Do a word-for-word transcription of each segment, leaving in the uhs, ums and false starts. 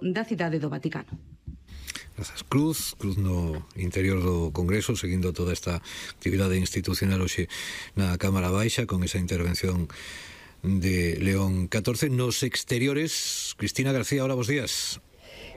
da cidade do Vaticano. Grazas. Cruz, Cruz no interior do Congreso, seguindo toda esta actividade institucional hoxe na Cámara Baixa, con esa intervención de León catorce. Nos exteriores, Cristina García, hola, bos días.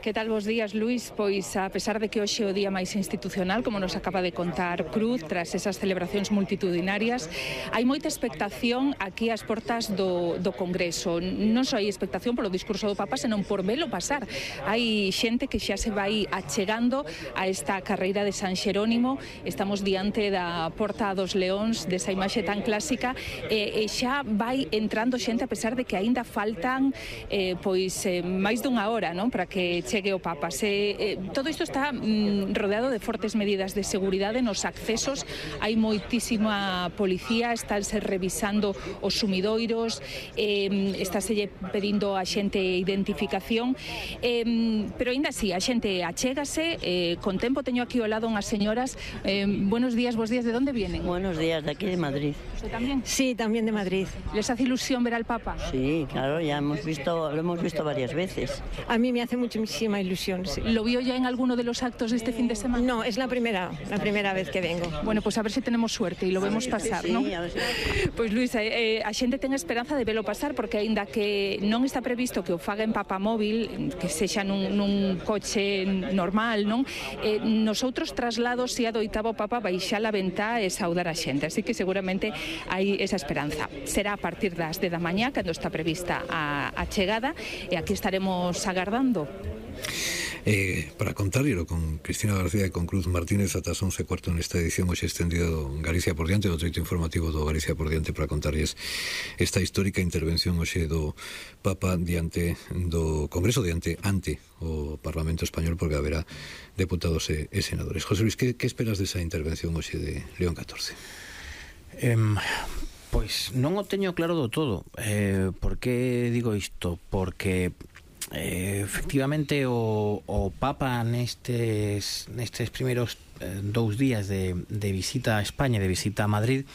Que tal, bos días, Luís? Pois, a pesar de que hoxe é o día máis institucional, como nos acaba de contar Cruz, tras esas celebracións multitudinarias, hai moita expectación aquí ás portas do, do Congreso. Non só hai expectación polo discurso do Papa, senón por velo pasar. Hai xente que xa se vai achegando a esta carreira de San Xerónimo. Estamos diante da Porta dos Leóns, desa imaxe tan clásica, e, e xa vai entrando xente, a pesar de que aínda faltan eh, pois eh, máis dunha hora, non, para que chegue o Papa. Se, eh, todo isto está mm, rodeado de fortes medidas de seguridade nos accesos. Hai moitísima policía, estáse revisando os sumidoiros, eh, estáse pedindo a xente identificación, eh, pero ainda así, a xente achégase, eh, con tempo. Teño aquí ao lado unhas señoras. Eh, buenos días, bos días, ¿de dónde vienen? Buenos días, de aquí de Madrid. ¿Usted también? Sí, también de Madrid. ¿Les hace ilusión ver al Papa? Sí, claro, ya hemos visto, lo hemos visto varias veces. A mí me hace muchísima ilusión, sí. ¿Lo vio ya en alguno de los actos de este fin de semana? No, es la primera, la primera vez que vengo. Bueno, pues a ver si tenemos suerte y lo vemos pasar, sí, ¿no? a ver si... Pois, Luís, eh, a xente ten esperanza de velo pasar, porque aínda que non está previsto que o faga en papamóvil, que sexa nun, nun coche normal, non? Eh, nos outros traslados, se adoitaba o Papa baixar a ventá e saudar a xente, así que seguramente hai esa esperanza. Será a partir das dez da mañá, cando está prevista a, a chegada, e aquí estaremos agardando. Eh, para contarlo con Cristina García e con Cruz Martínez ata as once e cuarto nesta edición hoxe extendida do Galicia por diante, do treito informativo do Galicia por diante, para contarles esta histórica intervención hoxe do Papa diante do Congreso, diante ante o Parlamento Español, porque haberá deputados e, e senadores. José Luis, que, que esperas desa intervención hoxe de León catorce? Eh, pois non o teño claro do todo. Eh, por que digo isto? Porque Eh, efectivamente o, o Papa nestes nestes primeiros eh, dous días de, de visita a España, de visita a Madrid,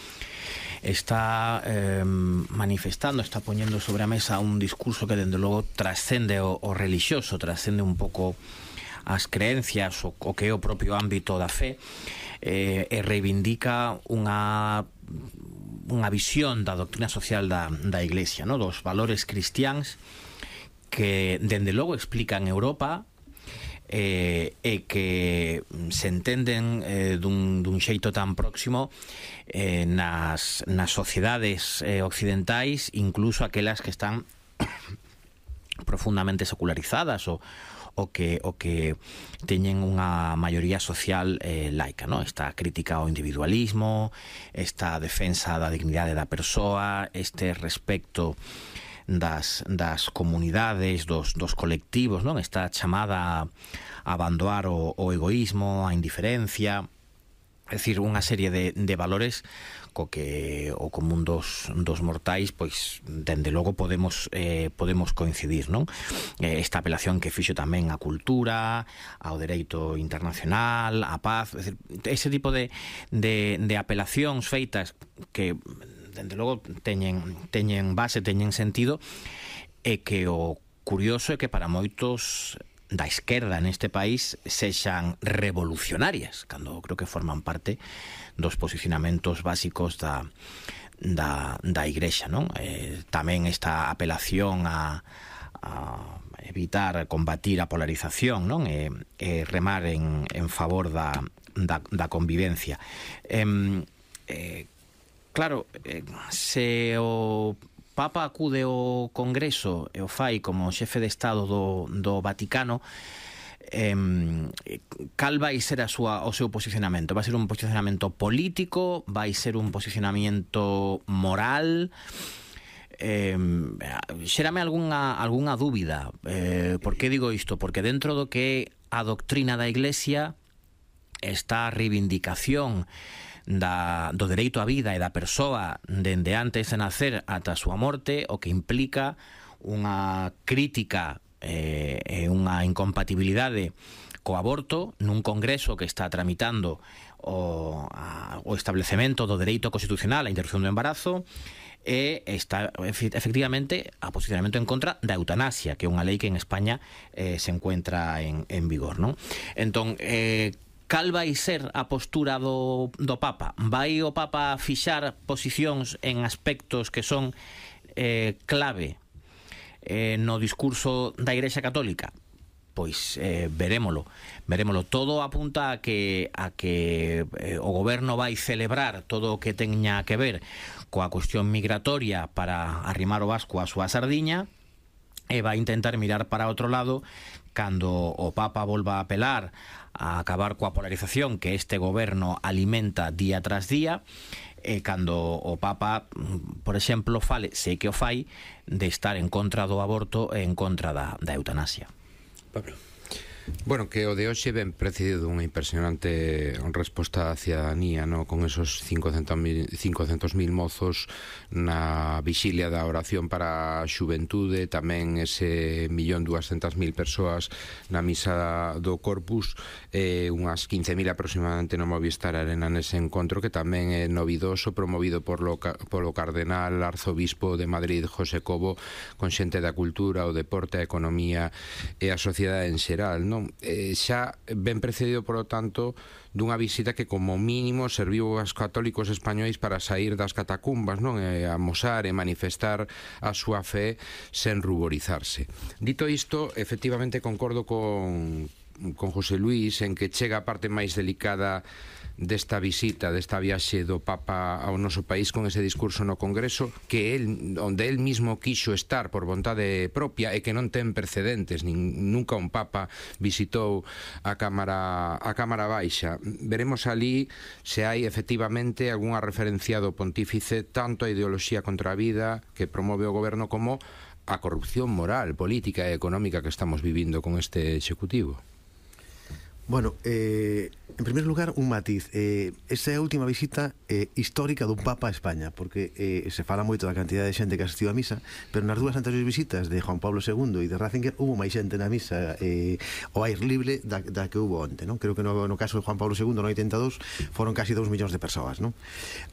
está eh, manifestando, está poñendo sobre a mesa un discurso que dende logo trascende o, o religioso, trascende un pouco as creencias, o, o que é o propio ámbito da fe, eh, e reivindica unha unha visión da doctrina social da, da Iglesia, no? Dos valores cristiáns que dende logo explican Europa, eh, e que se entenden eh, dun, dun xeito tan próximo eh, nas, nas sociedades eh, occidentais, incluso aquelas que están profundamente secularizadas, o, o que o que teñen unha maioría social eh, laica, no? Esta crítica ao individualismo, esta defensa da dignidade da persoa, este respecto das, das comunidades, dos, dos colectivos, non? Esta chamada a abandonar o, o egoísmo, a indiferencia, é dicir, unha serie de, de valores co que o común dos, dos mortais, pois, dende logo podemos eh, podemos coincidir, non? Eh, esta apelación que fixo tamén á cultura, ao dereito internacional, á paz, é dicir, ese tipo de, de, de apelacións feitas que dende logo teñen, teñen base, teñen sentido, e que o curioso é que para moitos da esquerda neste país sexan revolucionarias, cando creo que forman parte dos posicionamentos básicos da, da, da Igrexa, non? Eh, tamén esta apelación a, a evitar, combatir a polarización, non? E, e remar en, en favor da, da, da convivencia. Eh, eh, Claro, eh, se o Papa acude ao Congreso e o fai como xefe de Estado do, do Vaticano, eh, cal vai ser a súa, o seu posicionamento? Vai ser un posicionamento político? Vai ser un posicionamento moral? Eh, xérame algunha, algunha dúbida. Eh, por que digo isto? Porque dentro do que é a doctrina da Iglesia está a reivindicación Da, do dereito á vida e da persoa dende antes de nacer ata a súa morte, o que implica unha crítica eh, e unha incompatibilidade co aborto nun congreso que está tramitando o, a, o establecemento do dereito constitucional á interrupción do embarazo, e está efectivamente a posicionamento en contra da eutanasia, que é unha lei que en España eh, se encuentra en, en vigor, non? Entón, eh, cal vai ser a postura do, do Papa? Vai o Papa fixar posicións en aspectos que son eh, clave eh, no discurso da Igrexa Católica? Pois eh, verémolo, verémolo. Todo apunta a que a que eh, o goberno vai celebrar todo o que teña que ver coa cuestión migratoria para arrimar o vasco á súa sardiña, e vai intentar mirar para outro lado cando o Papa volva a apelar a acabar coa polarización que este goberno alimenta día tras día, e cando o Papa, por exemplo, fale, sei que o fai, de estar en contra do aborto e en contra da, da eutanasia. Pablo. Bueno, que o de hoxe ben precedido dunha impresionante resposta da cidadanía, no? Con esos cincocentos mil mozos na vixilia da oración para a xuventude, tamén ese millón duascentas mil persoas na misa do Corpus, eh, unhas quince mil aproximadamente no Movistar Arena nese encontro, que tamén é novidoso, promovido por lo, polo cardenal arzobispo de Madrid, José Cobo, con xente da cultura, o deporte, a economía e a sociedade en xeral, non? Eh, xa ben precedido, por lo tanto, dunha visita que como mínimo serviu aos católicos españois para sair das catacumbas, non? E amosar e manifestar a súa fe sen ruborizarse. Dito isto, efectivamente concordo con, con José Luis en que chega a parte máis delicada desta visita, desta viaxe do Papa ao noso país, con ese discurso no Congreso que el, onde el mismo quixo estar por vontade propia e que non ten precedentes. Nin, nunca un Papa visitou a Cámara a Cámara Baixa. Veremos ali se hai efectivamente algunha referencia do pontífice tanto a ideoloxía contra a vida que promove o goberno como a corrupción moral, política e económica que estamos vivindo con este executivo. Bueno, eh, en primer lugar, un matiz. Eh, esta é a última visita eh, histórica dun Papa a España, porque eh, se fala moito da cantidad de xente que asistiu a misa, pero nas dúas anteriores visitas de Juan Pablo segundo e de Ratzinger hubo máis xente na misa eh, ao aire libre da, da que hubo onte, non? Creo que no, no caso de Juan Pablo segundo no oitenta e dous foron casi dous millóns de persoas, non?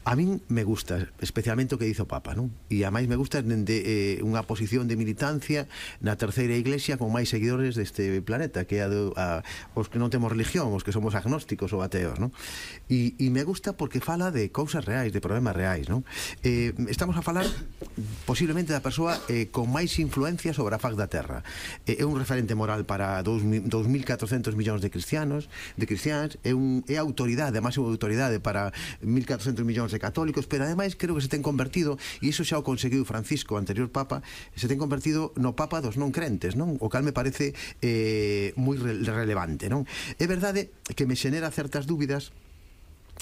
A min me gusta especialmente o que dice o Papa, non? E a máis me gusta de eh, unha posición de militancia na terceira iglesia con máis seguidores deste planeta, que é a, do, a os que non temos religión, os que somos agnósticos ou ateos, non? E, e me gusta porque fala de cousas reais, de problemas reais, non? Eh, estamos a falar posiblemente da persoa eh, con máis influencia sobre a faz da terra. Eh, é un referente moral para dos mil catrocentos millóns de cristianos, de cristianos, é, un, é autoridade, a máxima autoridade para mil catrocentos millóns de católicos, pero ademais creo que se ten convertido, e iso xa o conseguiu Francisco, o anterior Papa, se ten convertido no Papa dos non crentes, non? O cal me parece eh, moi re relevante, non? É verdade que me xenera certas dúbidas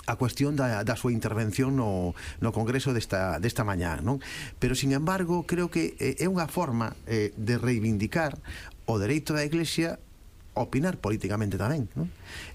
a cuestión da, da súa intervención no, no Congreso desta, desta mañá, non? Pero, sin embargo, creo que é unha forma eh, de reivindicar o dereito da Iglesia a opinar políticamente tamén, non?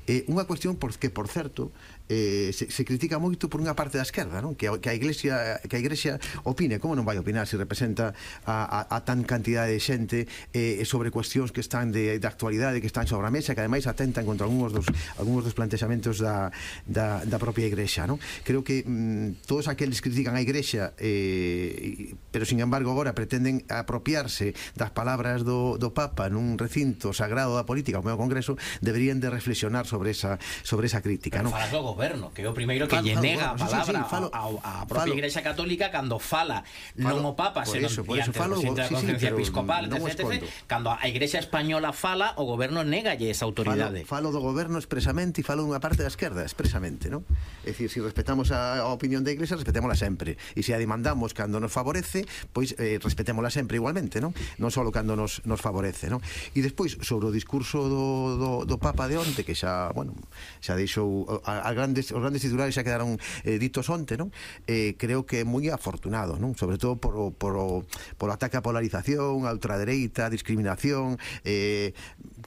Eh, unha cuestión por, que, por certo, eh, se, se critica moito por unha parte da esquerda, non? Que, a, que a Iglesia que a Iglesia opine. Como non vai opinar se representa a, a, a tan cantidade de xente eh, sobre cuestións que están de, de actualidade, que están sobre a mesa, que ademais atentan contra algúns dos, algúns dos plantexamentos da, da, da propia Igrexa, non? Creo que mm, todos aqueles que critican a Igrexa eh, pero sin embargo agora pretenden apropiarse das palabras do, do Papa nun recinto sagrado da política como é o Congreso, deberían de reflexionar sobre esa, sobre esa crítica, non? Falas do goberno, que é o primeiro que lle nega a palabra a propia Igrexa Católica cando fala non o Papa, senón diante do presidente da Conferencia Episcopal, etcétera. Cando a Igrexa Española fala, o goberno négalle esa autoridade. Falo do goberno expresamente e falo dunha parte da esquerda expresamente, non? É dicir, se respetamos a opinión da Igrexa, respetémola sempre, e se a demandamos cando nos favorece, pois eh, respetémola sempre igualmente, non? Non só cando nos, nos favorece, non? E despois, sobre o discurso do, do, do Papa de onte, que xa, bueno, xa deixou a, a grandes, os grandes titulares xa quedaron eh, ditos onte, non? Eh, creo que é moi afortunado, non? Sobre todo por o, por o, por o ataque á polarización, a ultradereita, a discriminación. Eh,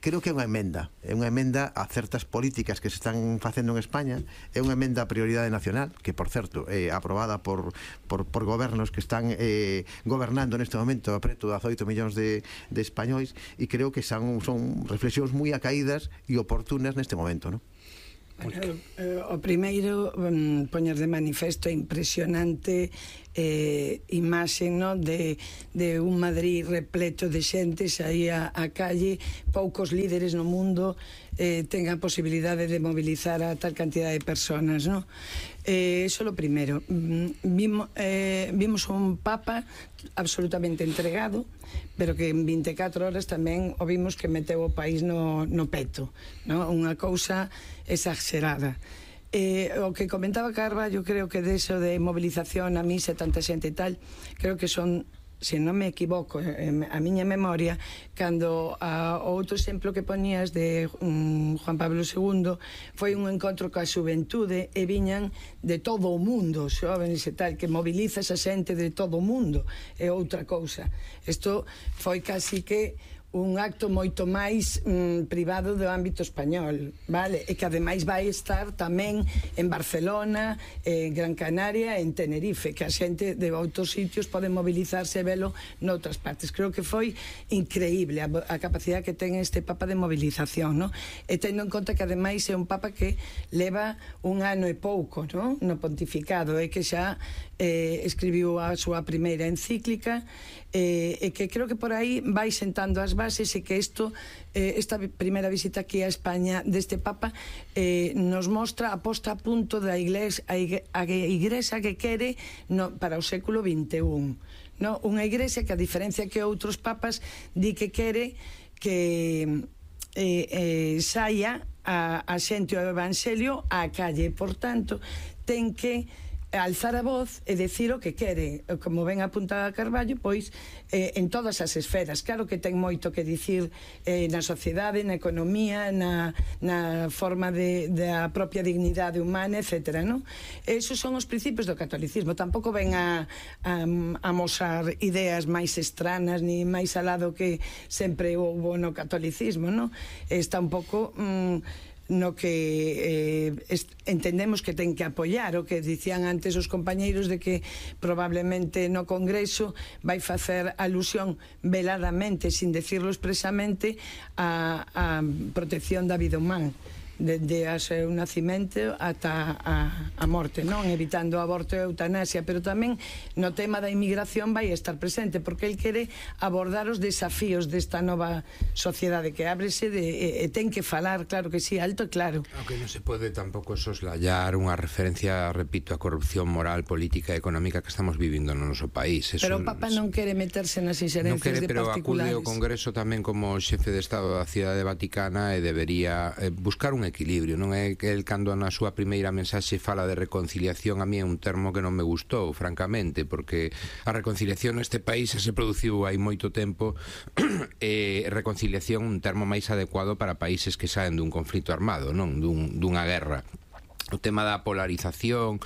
creo que é unha emenda, é unha emenda a certas políticas que se están facendo en España, é unha emenda a prioridade nacional, que por certo é aprobada por, por, por gobernos que están eh, gobernando neste momento a preto de dezaoito millóns de, de españois, e creo que son, son reflexións moi acaídas e oportunas neste momento, non? Bueno, o primeiro, um, poñer de manifesto a impresionante eh, imaxe, no, de, de un Madrid repleto de xente, saía a calle, poucos líderes no mundo eh, ten a posibilidade de mobilizar a tal cantidad de personas, no? Eh, eso é o primeiro. Vimos, eh, vimos un papa absolutamente entregado, pero que en vinte e catro horas tamén o vimos que meteu o país no, no peto, no? Unha cousa exagerada. Eh, o que comentaba Carballo, creo que deso de movilización a misa, tanta xente e tal, creo que son, se non me equivoco, eh, a miña memoria, cando a, o outro exemplo que poñías de um, Juan Pablo segundo foi un encontro coa xuventude e viñan de todo o mundo, xóvenes e tal, que moviliza esa xente de todo o mundo, é outra cousa. Isto foi casi que un acto moito máis mm, privado do ámbito español, vale? E que ademais vai estar tamén en Barcelona, en Gran Canaria e en Tenerife, que a xente de outros sitios pode mobilizarse e velo noutras partes. Creo que foi increíble a, a capacidade que ten este Papa de movilización, no? E tendo en conta que ademais é un Papa que leva un ano e pouco, no? No pontificado, e que xa eh, escribiu a súa primeira encíclica, eh, e que creo que por aí vai sentando as bases, e que isto, eh, esta primeira visita aquí a España deste Papa eh, nos mostra a posta a punto da iglesia, a igrexa que quere no, para o século vinte e un, no? Unha igrexa que, a diferencia que outros papas, di que quere que eh, eh, saia a, a xente o evangelio á calle, por tanto ten que alzar a voz e decir o que quere, como ben apunta a Carballo, pois eh, en todas as esferas. Claro que ten moito que dicir eh, na sociedade, na economía, na, na forma de, da propia dignidade humana, etcétera, no? Esos son os principios do catolicismo. Tampouco ven a, a, a mostrar ideas máis estranas ni máis alado que sempre houbo no catolicismo, no? Está un pouco Mm, no que eh, entendemos que ten que apoiar o que dicían antes os compañeiros de que probablemente no Congreso vai facer alusión veladamente, sin decirlo expresamente, a, a protección da vida humana, desde o seu nacimento ata a, a morte, non? Evitando o aborto e a eutanasia, pero tamén no tema da inmigración vai estar presente, porque el quere abordar os desafíos desta nova sociedade que ábrese de, e, e ten que falar, claro que sí, alto e claro. Aunque non se pode tampouco soslayar unha referencia, repito, a corrupción moral, política e económica que estamos vivindo no noso país. Eso, pero o Papa non quere meterse nas inxerencias non quere, de pero particulares. Acude ao Congreso tamén como xefe de Estado da Cidade Vaticana e debería eh, buscar un equilibrio, non é que el, cando na súa primeira mensaxe fala de reconciliación, a mí é un termo que non me gustou, francamente, porque a reconciliación neste país se produciu hai moito tempo e reconciliación un termo máis adecuado para países que saen dun conflito armado, non dun, dunha guerra. O tema da polarización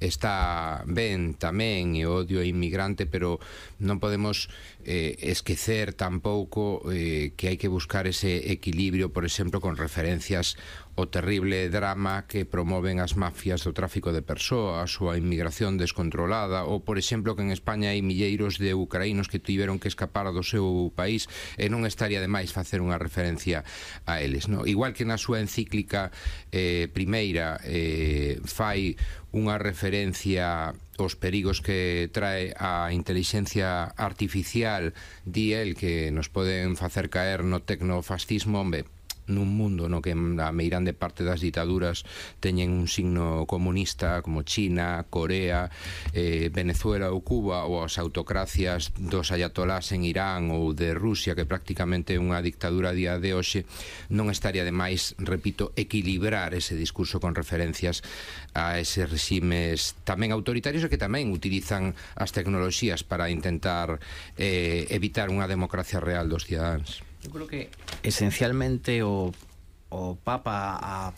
está ben tamén, e odio inmigrante, pero non podemos eh, esquecer tampouco eh, que hai que buscar ese equilibrio, por exemplo, con referencias o terrible drama que promoven as mafias do tráfico de persoas ou a inmigración descontrolada, ou, por exemplo, que en España hai milleiros de ucraínos que tiveron que escapar do seu país e non estaría de máis facer unha referencia a eles, no? Igual que na súa encíclica eh, primeira eh, fai unha referencia aos perigos que trae a inteligencia artificial, di el que nos poden facer caer no tecnofascismo, hombre, nun mundo no que a meirande parte das ditaduras teñen un signo comunista, como China, Corea, eh, Venezuela ou Cuba, ou as autocracias dos ayatolás en Irán ou de Rusia, que prácticamente é unha dictadura a día de hoxe, non estaría de máis, repito, equilibrar ese discurso con referencias a eses reximes tamén autoritarios e que tamén utilizan as tecnoloxías para intentar eh, evitar unha democracia real dos cidadáns. Eu creo que esencialmente o, o Papa a,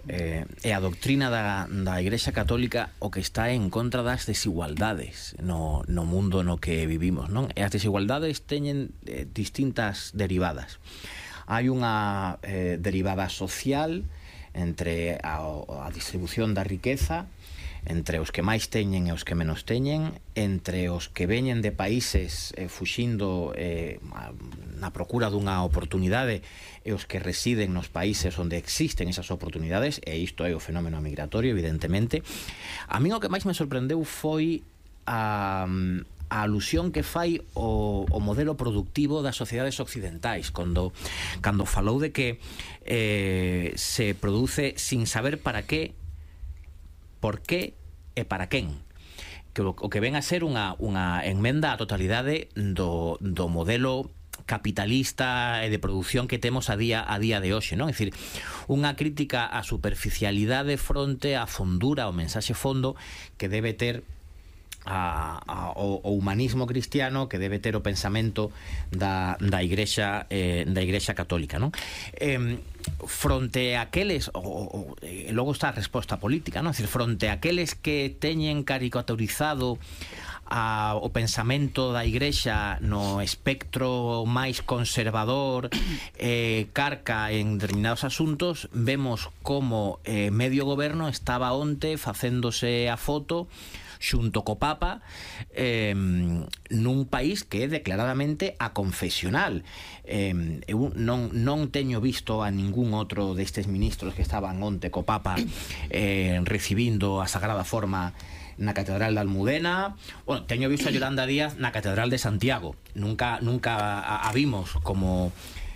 eh, e a doctrina da, da Igrexa Católica o que está en contra das desigualdades no, no mundo no que vivimos, non? E as desigualdades teñen eh, distintas derivadas. Hai unha eh, derivada social entre a, a distribución da riqueza entre os que máis teñen e os que menos teñen, entre os que veñen de países eh, fuxindo eh, na procura dunha oportunidade e os que residen nos países onde existen esas oportunidades, e isto é o fenómeno migratorio, evidentemente. A min o que máis me sorprendeu foi a, a alusión que fai o, o modelo productivo das sociedades occidentais cando, cando falou de que eh, se produce sin saber para qué, por qué e para quen, que o, o que ven a ser unha, unha enmenda á totalidade do, do modelo capitalista e de produción que temos a día a día de hoxe, non? É dicir, unha crítica á superficialidade fronte á fondura, ao mensaxe fondo que debe ter A, a, o, o humanismo cristiano, que debe ter o pensamento da, da igrexa eh, da igrexa católica, non? Eh, fronte a aqueles o, o, e logo está a resposta política, non? É dicir, fronte a aqueles que teñen caricaturizado a, o pensamento da igrexa no espectro máis conservador, eh, carca en determinados asuntos, vemos como eh, medio goberno estaba onte facéndose a foto xunto co Papa eh, nun país que é declaradamente aconfesional. Eh, eu non, non teño visto a ningún outro destes ministros que estaban onte co Papa eh, recibindo a Sagrada Forma na Catedral de Almudena. Bueno, teño visto a Yolanda Díaz na Catedral de Santiago. Nunca, nunca a, a vimos como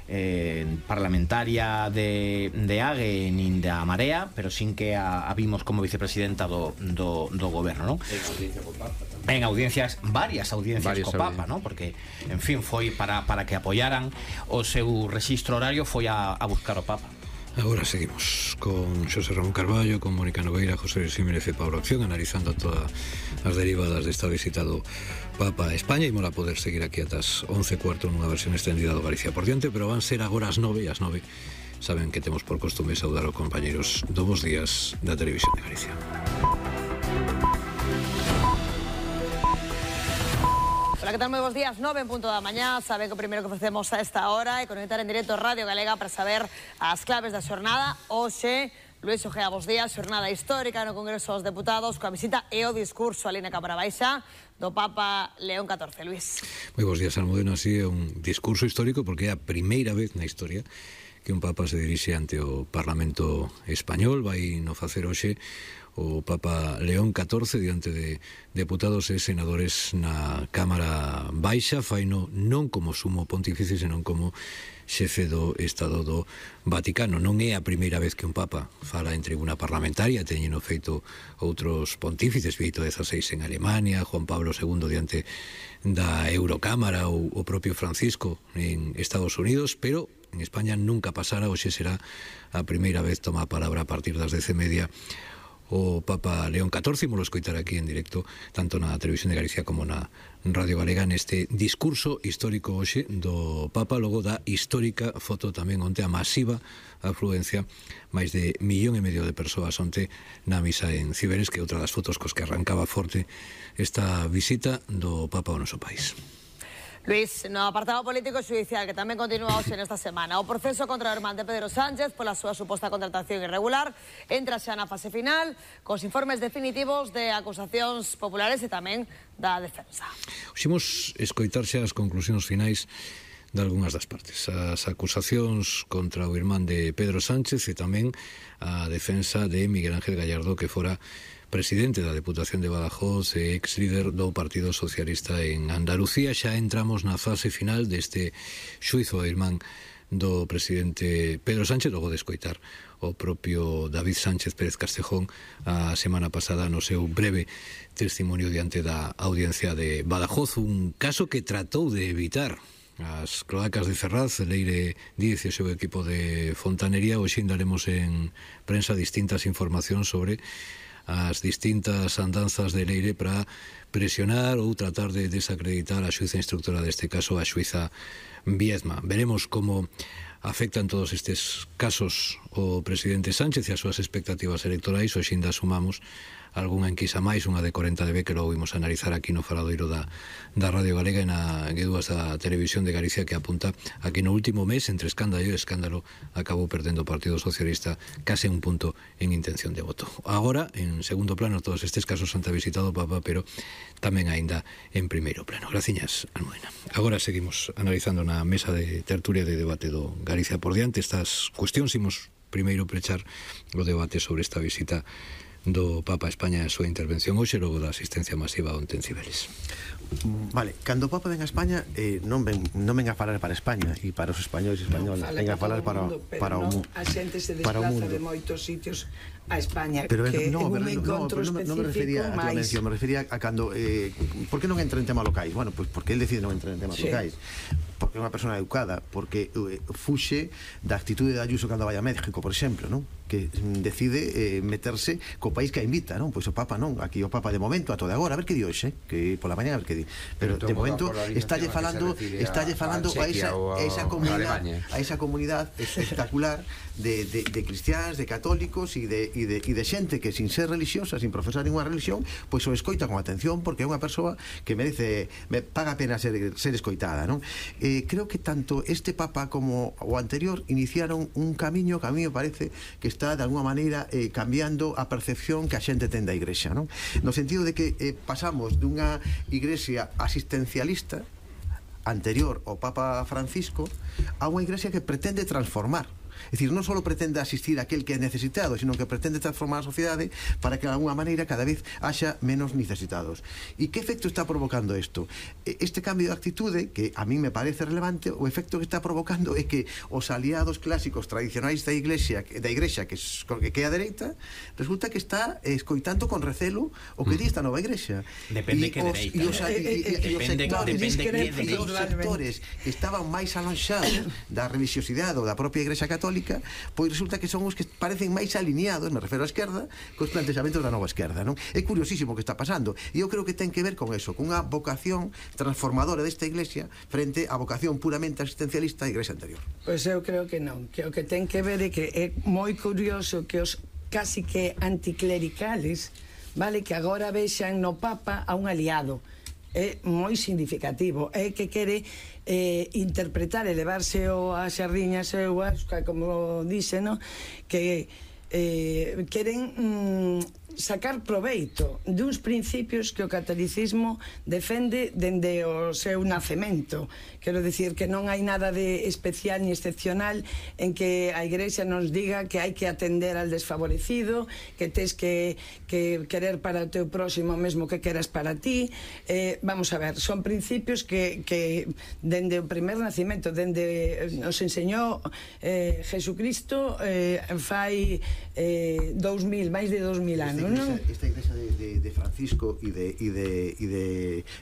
Eh, parlamentaria de, de A G E nin da Marea, pero sin que a, a vimos como vicepresidenta do, do, do goberno, non? En audiencia co Papa tamén. En audiencias, varias audiencias varias co Papa, non? Porque, en fin, foi para, para que apoyaran o seu rexistro horario, foi a, a buscar o Papa. Agora seguimos con Xosé Ramón Carballo, con Mónica Nogueira, José Luis Jiménez e Pablo Acción, analizando todas as derivadas desta visita do Papa a España. E mola poder seguir aquí atas once e cuarto nunha versión extendida do Galicia por diante, pero van ser agora as nove, e as nove saben que temos por costume saudar os compañeros do Bos Días da Televisión de Galicia. Hola, ¿qué tal? Muy buenos días, nove en punto da mañá. Saben que o primeiro que ofrecemos a esta hora é conectar en directo Radio Galega para saber as claves da xornada. Hoxe, Luis Ojea, bos días, xornada histórica no Congreso dos Deputados coa visita e o discurso ali na Cámara Baixa do Papa León catorce. Luis. Moi bons días, Almudena. Así é un discurso histórico porque é a primeira vez na historia que un Papa se dirixe ante o Parlamento Español. Vai no facer hoxe o Papa León catorce diante de deputados e senadores na Cámara Baixa. Faino non como sumo pontífice, senón como xefe do Estado do Vaticano. Non é a primeira vez que un Papa fala en tribuna parlamentaria, teñeno feito outros pontífices, Benedicto dezasseis en Alemania, Juan Pablo segundo diante da Eurocámara ou o propio Francisco en Estados Unidos, pero en España nunca pasara. Hoxe será a primeira vez toma a palabra a partir das dez e media o Papa León catorce. Imos escoitar aquí en directo tanto na Televisión de Galicia como na Radio Galega neste discurso histórico hoxe do Papa, logo da histórica foto tamén onte a masiva afluencia, máis de millón e medio de persoas onte na misa en Ciberes, que é outra das fotos cos que arrancaba forte esta visita do Papa ao noso país. Luis, no apartado político e judicial que tamén continúa hoxe nesta semana, o proceso contra o irmán de Pedro Sánchez pola súa suposta contratación irregular entra xa na fase final cos informes definitivos de acusacións populares e tamén da defensa. Ximos escoitar xa as conclusións finais de algunhas das partes, as acusacións contra o irmán de Pedro Sánchez e tamén a defensa de Miguel Ángel Gallardo, que fora presidente da Deputación de Badajoz e ex líder do Partido Socialista en Andalucía. Xa entramos na fase final deste xuizo ao irmán do presidente Pedro Sánchez, logo de escoitar o propio David Sánchez Pérez Castejón a semana pasada no seu breve testimonio diante da audiencia de Badajoz, un caso que tratou de evitar as cloacas de Ferraz. Leire Díez e o seu equipo de fontanería. Hoxe indaremos en prensa distintas informacións sobre as distintas andanzas de Leire para presionar ou tratar de desacreditar a xuíza instructora deste caso, a xuíza Viedma. Veremos como afectan todos estes casos o presidente Sánchez e as súas expectativas electorais. Hoxe ainda sumamos algunha enquisa máis, unha de corenta de B, que logo vimos analizar aquí no faladoiro da, da Radio Galega e na G dúas da Televisión de Galicia, que apunta a que no último mes, entre escándalo e escándalo, acabou perdendo o Partido Socialista case un punto en intención de voto. Agora, en segundo plano, todos estes casos han visitado o Papa, pero tamén aínda en primeiro plano. Graciñas, Almudena. Agora seguimos analizando na mesa de tertulia de debate do Galicia por diante estas cuestións. Imos primeiro prechar o debate sobre esta visita do Papa a España e a súa intervención hoxe, logo da asistencia masiva onte en Cibeles. Vale, cando o Papa ven a España, eh, non, ven, non ven a falar para España e para os españoles e españoles, no, ven a falar para, mundo, para o mundo. A xente se desplaza de moitos sitios a España, pero, que no, un pero, encontro no, no, específico non me refería a máis... mención, me refería a cando eh, por que non entra en tema locais? Bueno, pois pues porque el decide non entrar en temas sí. locais, porque é unha persona educada, porque eh, fuxe da actitude de Ayuso cando vai a México, por exemplo, non? Que decide eh, meterse co país que a invita, non? Pois o Papa non, aquí o Papa de momento, a todo agora, a ver que di hoxe, que pola mañá a ver que di, pero, pero de momento estálle falando, estálle falando a, a esa, a esa comunidade, a esa comunidade espectacular de, de, de cristiáns, de católicos e de, e de, e de xente que sin ser religiosa, sin profesar ninguna religión, pois o escoita con atención, porque é unha persoa que merece, me paga a pena ser, ser escoitada, non? Eh, creo que tanto este Papa como o anterior iniciaron un camiño que a mí me parece que está de alguna maneira eh, cambiando a percepción que a xente ten da Igrexa, non? No sentido de que eh, pasamos dunha Igrexa asistencialista anterior ao Papa Francisco a unha Igrexa que pretende transformar. É dicir, non só pretende asistir a aquel que é necesitado, sino que pretende transformar a sociedade para que de alguna maneira cada vez haxa menos necesitados. E que efecto está provocando isto? Este cambio de actitude, que a mí me parece relevante, o efecto que está provocando é que os aliados clásicos tradicionais da Iglesia, da Igrexa que, que é a dereita, resulta que está escoitando con recelo o que di esta nova Igrexa. Depende que dereita. E os sectores que estaban máis alonxados da religiosidade ou da propia Igrexa Católica, pois resulta que son os que parecen máis alineados, me refero á esquerda, cos plantexamentos da nova esquerda, non? É curiosísimo o que está pasando, e eu creo que ten que ver con eso, con unha vocación transformadora desta Iglesia frente á vocación puramente asistencialista da Iglesia anterior. Pois eu creo que non, que o que ten que ver é que é moi curioso que os casi que anticlericales, vale, que agora vexan no Papa a un aliado. É moi significativo, é que quere eh, interpretar, elevarse o a xardiñas e o asca, como dice, no? Que eh, queren mm, sacar proveito duns principios que o catolicismo defende dende o seu nacemento. Quero dicir que non hai nada de especial ni excepcional en que a Igrexa nos diga que hai que atender al desfavorecido, que tes que, que querer para o teu próximo mesmo que queras para ti. Eh, vamos a ver, son principios que, que dende o primer nacimento, dende nos enseñou eh, Jesucristo eh, fai eh, dous mil, máis de dous mil anos. Esta igrexa, esta igrexa de, de, de Francisco e de, e de, e de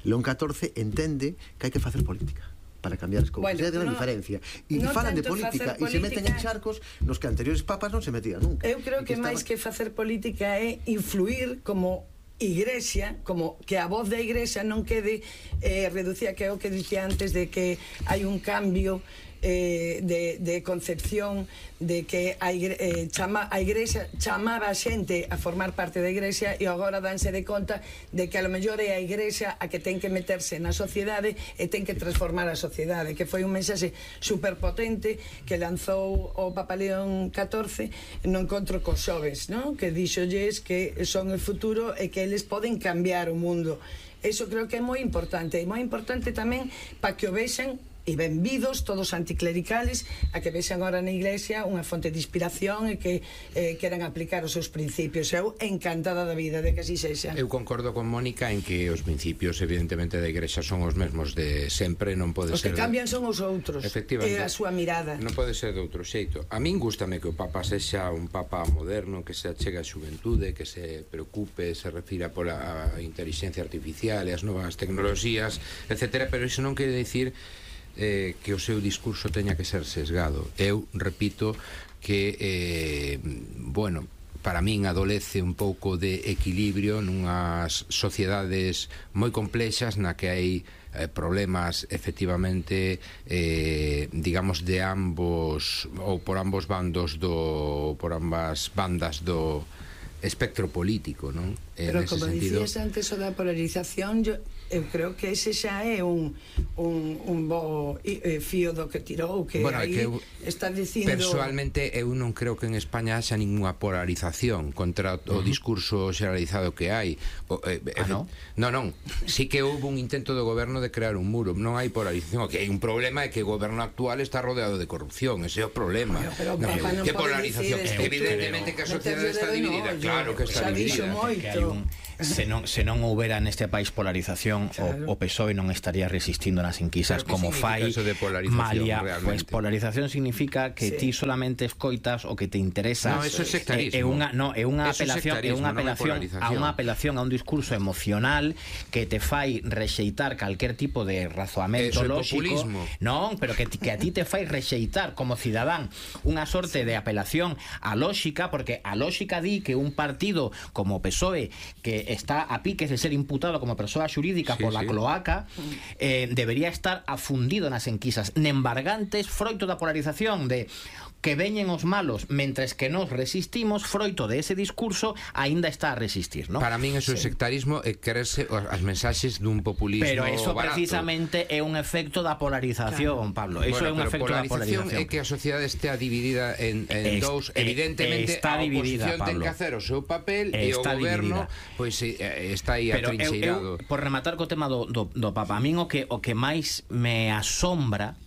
León catorce entende que hai que facer política para cambiar as cousas. Bueno, é unha no, diferencia. E no falan de política e se meten en charcos nos que anteriores papas non se metían nunca. Eu creo que, que máis estaba... que facer política é influir como Igrexa, como que a voz da Igrexa non quede eh, reducida, que é o que dicía antes, de que hai un cambio eh, de, de concepción de que a, igre, eh, chama, a Igrexa chamaba a xente a formar parte da Igrexa e agora danse de conta de que a lo mellor é a Igrexa a que ten que meterse na sociedade e ten que transformar a sociedade, que foi un mensaxe superpotente que lanzou o Papa León catorce no encontro cos xoves, ¿no? Que dixolles que son o futuro e que eles poden cambiar o mundo. Eso creo que é moi importante, e moi importante tamén para que o vexan e benvidos todos anticlericales a que vexan agora na Iglesia unha fonte de inspiración e que eh, queran aplicar os seus principios. Eu encantada da vida de que así sexa. Eu concordo con Mónica en que os principios evidentemente da Igrexa son os mesmos de sempre, non pode os ser... Os que cambian son os outros, e a súa mirada. Non pode ser de outro xeito. A min gústame que o Papa sexa un Papa moderno, que se achega a xuventude, que se preocupe, se refira pola inteligencia artificial e as novas tecnoloxías, etcétera, pero iso non quere dicir Eh, que o seu discurso teña que ser sesgado. Eu repito que eh, bueno, para min adolece un pouco de equilibrio nunhas sociedades moi complexas na que hai eh, problemas efectivamente eh, digamos de ambos ou por ambos bandos do por ambas bandas do espectro político, non? Pero como dicías antes o da polarización, yo, eu creo que ese xa é un, un, un bo eh, fío do que tirou, que bueno, aí que eu, está dicindo... Personalmente eu non creo que en España haxa ninguna polarización contra o uh-huh. discurso xeralizado que hai. O, eh, ah, non? Non, non, sí que houve un intento do goberno de crear un muro, non hai polarización, o que hai un problema é que o goberno actual está rodeado de corrupción, ese é o problema. Pero, pero, no, no que polarización, evidentemente que a sociedade está dividida, claro que está dividida. Se non, se non houbera neste país polarización, claro. o, o P S O E non estaría resistindo nas enquisas como fai Malia. Pues polarización significa que sí. ti solamente escoitas o que te interesa. No, eso é sectarismo. É unha no, é unha apelación, é unha apelación a unha apelación a un discurso emocional que te fai rexeitar calquer tipo de razoamento lógico. Non, pero que, que a ti te fai rexeitar como cidadán unha sorte de apelación a lógica, porque a lógica di que un partido como o P S O E que está a piques de ser imputado como persoa xurídica sí, pola sí. cloaca eh, debería estar afundido nas enquisas nembargantes, froito da polarización de que veñen os malos mentres que nos resistimos, froito de ese discurso aínda está a resistir, ¿no? Para min eso é sí. sectarismo e quererse as mensaxes dun populismo pero eso barato. Precisamente é un efecto da polarización, claro. Pablo, eso bueno, é un efecto da polarización. É que a sociedade estea dividida en, en es, dous, evidentemente está a dividida, oposición ten que hacer o seu papel e o goberno pois pues, está aí pero atrincheirado. Eu, eu, por rematar co tema do, do, do Papa, a min o que, o que máis me asombra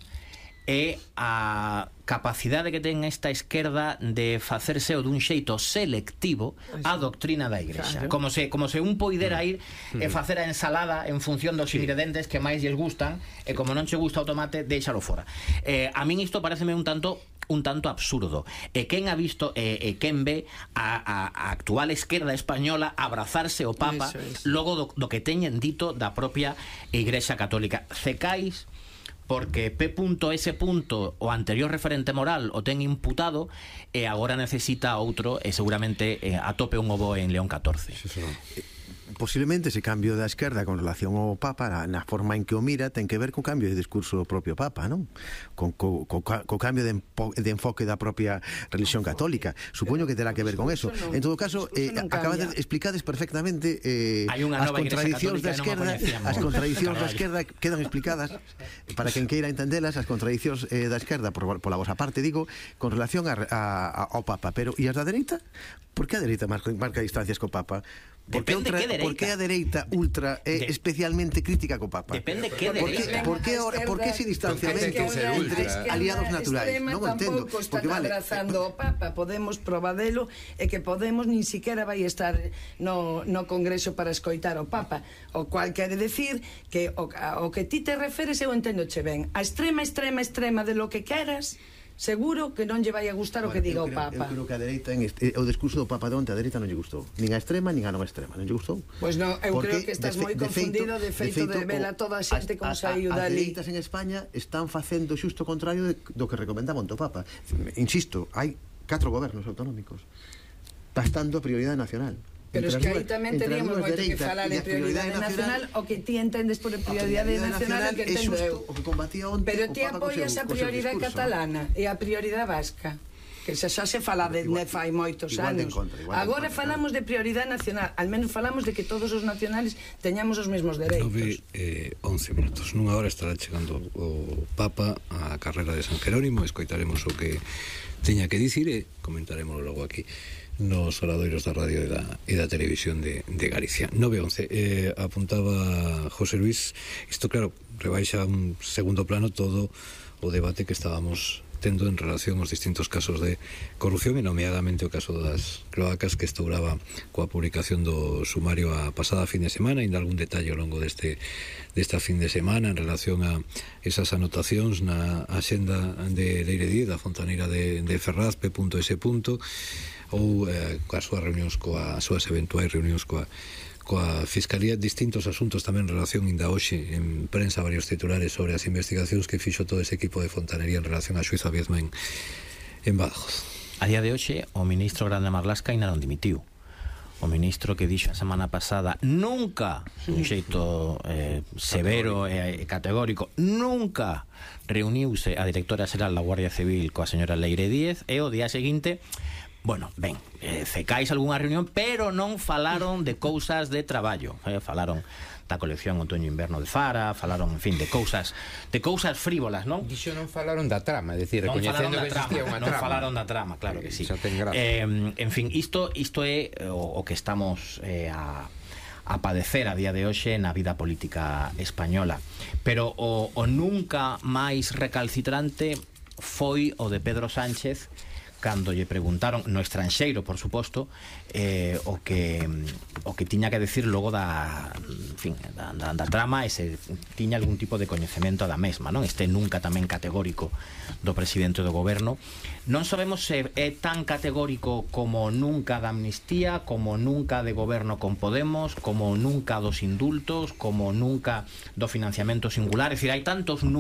é a capacidade que ten esta esquerda de facerse o dun xeito selectivo a doctrina da Igrexa, claro. como se como se un poidera ir e facer a ensalada en función dos sí. ingredientes que máis lles gustan e como non che gusta o tomate, déixalo fora. Eh, a min isto pareceme un tanto un tanto absurdo. E quen ha visto e, e quen ve a, a, a actual esquerda española abrazarse o Papa es. logo do, do que teñen dito da propia Igrexa Católica. Cecais porque P S. o anterior referente moral o ten imputado e agora necesita outro e seguramente eh, atope un ovo en León catorce. Sí, sí, no. Posiblemente ese cambio da esquerda con relación ao Papa na, na forma en que o mira ten que ver co cambio de discurso do propio Papa, non? Con, co, co, co cambio de, empo, de enfoque da propia religión católica. Supoño que terá que ver con eso. En todo caso, eh, acabades de explicades perfectamente eh, as contradicións da esquerda, as contradicións da esquerda quedan explicadas para quen queira entendelas, as contradicións eh, da esquerda por, pola vosa parte, digo, con relación a, a, ao Papa, pero e as da dereita? Por que a dereita marca, marca distancias co Papa? Por que, outra, por que a dereita ultra é de, especialmente crítica co Papa? Depende que dereita. Por que por que ese distanciamento entre aliados naturais? Non entendo, porque vale abrazando o Papa, Podemos probadelo e que Podemos nin siquiera vai estar no no Congreso para escoitar o Papa, o cual quere decir que o, o que ti te referes eu entendo che ben. A extrema extrema extrema de lo que queras seguro que non lle vai a gustar bueno, o que diga creo, o Papa. Eu creo que a dereita en este, o discurso do Papa de onte a dereita non lle gustou, nin a extrema nin a non extrema, non lle gustou. Pois pues non, eu Porque creo que estás moi confundido de feito de, feito, de vela toda a xente como saiu dali. As dereitas en España están facendo xusto o contrario de, do que recomendaba o Papa. Insisto, hai catro gobernos autonómicos bastando a prioridade nacional. Pero es que aí tamén teríamos moito que falar de prioridade nacional, o que ti entendes por prioridade nacional, o que entendo eu. Pero ti apoias a prioridade catalana e a prioridade vasca, que xa xa se fala de fai moitos anos. Agora falamos de prioridade nacional, al menos falamos de que todos os nacionales teñamos os mesmos dereitos. nove e once minutos. Nunha hora estará chegando o Papa a carrera de San Jerónimo, escoitaremos o que teña que dicir e comentaremos logo aquí nos oradoiros da radio e da, e da televisión de, de Galicia. nove e once, eh, apuntaba José Luis, isto claro, rebaixa un segundo plano todo o debate que estábamos tendo en relación aos distintos casos de corrupción e nomeadamente o caso das cloacas que estouraba coa publicación do sumario a pasada fin de semana, ainda algún detalle ao longo deste desta fin de semana en relación a esas anotacións na axenda de Leire Díez da Fontaneira de, de Ferraz, P S. ou eh, coas súas reunións coas súas eventuais reunións coa coa Fiscalía, distintos asuntos tamén en relación inda hoxe en prensa varios titulares sobre as investigacións que fixo todo ese equipo de Fontanería en relación a xuizo a Viezma en, en Badajoz. A día de hoxe, o ministro Grande Marlasca ainda non dimitiu. O ministro que dixo a semana pasada nunca, un xeito eh, severo e eh, categórico, nunca reuniuse a directora xeral da Guardia Civil coa señora Leire Díez, e o día seguinte, bueno, ben, eh, cecais algunha reunión, pero non falaron de cousas de traballo, eh, falaron da colección outoño-inverno de Zara, falaron, en fin, de cousas de cousas frívolas, non? Dixo non falaron da trama, é dicir, non recoñecendo que existía trama, unha non trama. falaron da trama, claro que sí. Eh, en fin, isto isto é o, o que estamos eh, a a padecer a día de hoxe na vida política española. Pero o, o nunca máis recalcitrante foi o de Pedro Sánchez, cando lle preguntaron no estranxeiro, por suposto, eh, o que o que tiña que decir logo da, en fin, da, da, da trama, e se tiña algún tipo de coñecemento da mesma, non? Este nunca tamén categórico do presidente do goberno. Non sabemos se é tan categórico como nunca da amnistía, como nunca de goberno con Podemos, como nunca dos indultos, como nunca do financiamento singular. É dicir, hai tantos nunca